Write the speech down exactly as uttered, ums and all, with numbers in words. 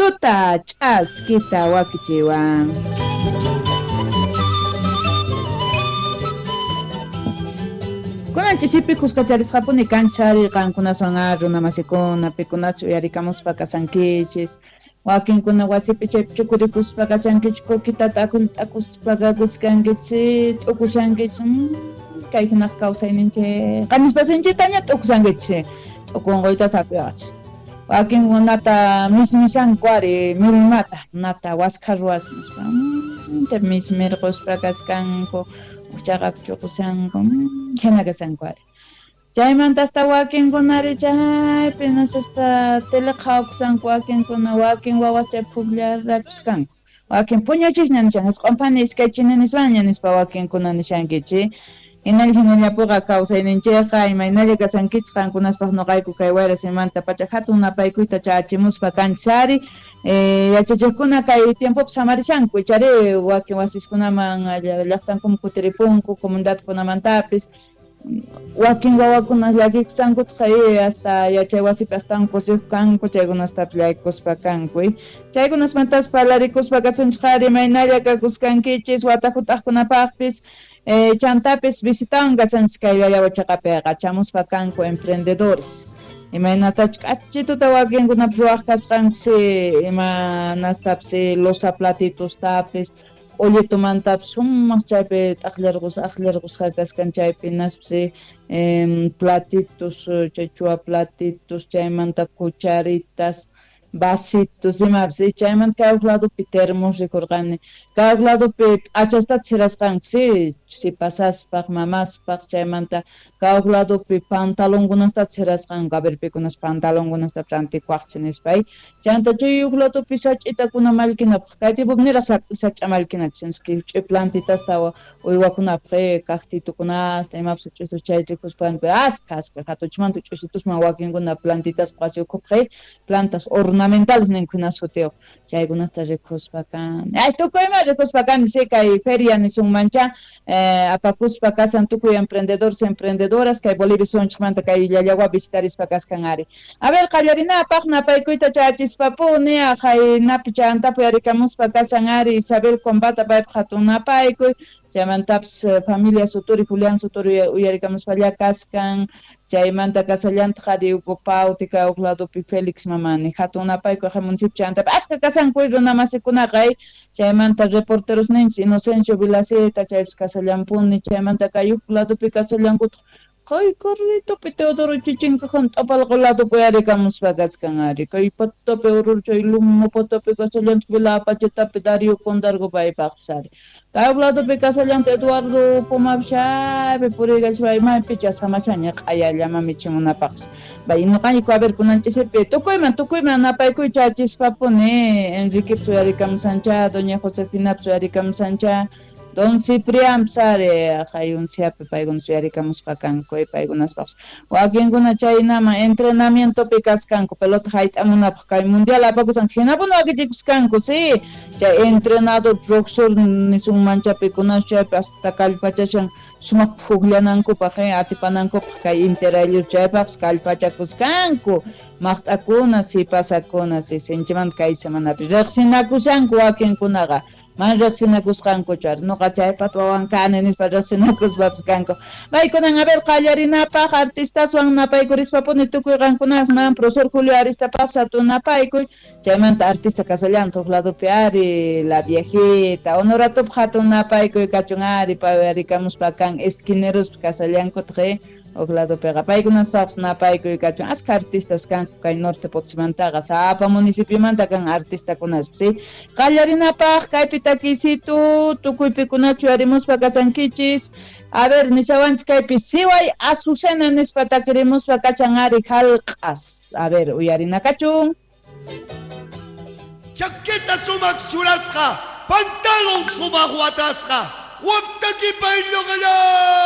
Tuta ch'askita wakichiwan. Kunan ch'isipi kuskacharisqapuni kanchari qankunaswan ar runamasikuna pikunachu uyarikamuspa kasankichis. Wakinkuna wasipi chaypi chukurikuspa kachankichis kukitata t'akuspa kakuskankichis t'ukushankichis kay hinaq kawsayninchik qanispasinchiktaña t'ukushankichis t'ukunquyta tapiwaqchis. Wakinkunata mismishanku ari millmata nata waskha ruwas nispa chay mismirquspa kaskanku chaqapi chuqushanku hina kashanku ari. Chaymanta hasta wakinkunari chaypi hasta tele qhawakushanku wakinkuna wakin wawas chay pukllarakuskanku wakin puñuchisña nishan isq'unpani iskay chini nispaña nispa wakinkuna nishankichik. Hinalla hinallapuqa kawsayninchikqa imaynalla kasankichik qankunaspaq nuqayku kay wayra simanta pacha hatun napaykuyta chachimuspa kanchari yachachiqkuna kay tiempopi samarishanku ichari wakin wasiskunaman llaqtankuman kutiripunku comunidadkunamantapis wakin wawakuna llakikushankutaq hasta yachay wasipi astawan kusiq kanku chaykunastapis llakikuspa kanku chaykunasmantas parlarikuspa kasunchik ari imaynalla kakuskankichis wata hut'aqkunapaqpis chantapis visitawan kasanchik kay Llallawa chaqapiqa chamuspa kanku emprendedores imaynatachu k'achituta wakinkunapis ruwaq kasqankusi imanastapis loza platitostapis q'ullitumantapis sumaq chaypi t'aqllarqus aqllarqusqa kaskan chaypi naspis platitos chay chua platitos chaymanta cucharitas vasitos imapis chaymanta kay huk ladopi termos rikurqani kay huk ladopi p'achasta chirasqanku si sipasaspaq mamaspaq chaymanta kay huk ladopi pantalonkunasta chirasqanku a ver pikunas pantalonkunasta rantikuaqchik nispa chayanta chay huk ladopi sach'itakuna mallkinapaq kay tiempopi niraq sach'a mallkinachu ch'i plantitasta uywakunapaq cactitukunasta imapis ch'usu chay rikuspanku askha askha hatuchmanta ch'usitusman wakinkuna plantitas wasi ukhupaq plantas ornamentales ninkuna sutiyuq chaykunasta rikuspa kani ay tukuyma rikuspa kani si kay feria nisunmancha apakuspa kasan tukuy emprendedores emprendedoras kay Bolivia sunchikmanta kay Llallawa visitarispa kaskan ari. A ver qallarinapaq napaykuyta chachispapuni aqhay napi chantapu yarikamuspa kasan ari Isabel Combata paypaq hatun napaykuy chaymantapis familia Suturi Julián Suturi uyarikamuspalla kaskan chaymanta kasallantaq ari Hugo Pauti kay huk ladopi Félix Mamani hatun napaykuy aqhay municipio chantapi askha kasanku runamasikunaqa chaymanta reporteros ninchik Inocencio Vilaceta chaypis kasallampuni chaymanta kay huk ladopi kasallankutaq kay carritopi Teodoro Chichinkajan t'apalqa ladopi uyarikamuspa kaskan ari kay patapi urur chay lumo patapi kasallantaq Vila Apachetapi Darío Condargo paypaqpis ari kay huk ladopi kasallantaq Eduardo Pumapis chaypi puriykachpa maypicha samashaña q'ayallama michimunapaqpis bay nuqayku a ver kunanchisipi tukuyman tukuyman napaykuy chachispapuni Enriquepis uyarikamusancha doña Josefinapis uyarikamusancha Don Ciprián ari aqhayunsiapi paykuna uyarikamuspa kanku paykunaspaqpis wakinkuna chaynaman entrenamientopi kaskanku pelota hayt'amunapaq kay mundial apakusan hinapuni wakichikuskanku si chay entrenador profesor nisunmancha pikunachu chaypi hasta kallpachashan sumaq pukllanankupaq atipanankupaq kay interayllup chaypaqpis kallpachakuskanku maqt'akuna sipasakuna si sinchimanta kay semanapi riqsinakushanku wakinkunaqa man riqsinakusqankuchu ari nuqa chaypata wawan kani nispa riqsinakuspapis kanku paykunan a ver qallarinapaq artistaswan napaykurispa-puni tukuy qankunasman profesor Julio Aristapapis hatun napaykuy chaymanta artista kasallantaq huk ladopi ari la viejita Honoratopaq hatun napaykuy kachun ari pay uyarikamuspa kan esquinerospi kasallankutaq huk ladopiqa paykunaspapis napaykuy kachun askha artistas kanku kay norte Potosimantaqa sapa municipiomanta kan artistakunaspis si qallarinapaq kaypi takiysitu tukuypikunachu uyarimuspa kasankichis a ver nishawanchik kaypi siway azucena nispa takirimuspa kachan ari jallq'as a ver uyarinakachun. Chaqueta sumaq churasqa pantalon sumaq watasqa waqtakipay lluqalla.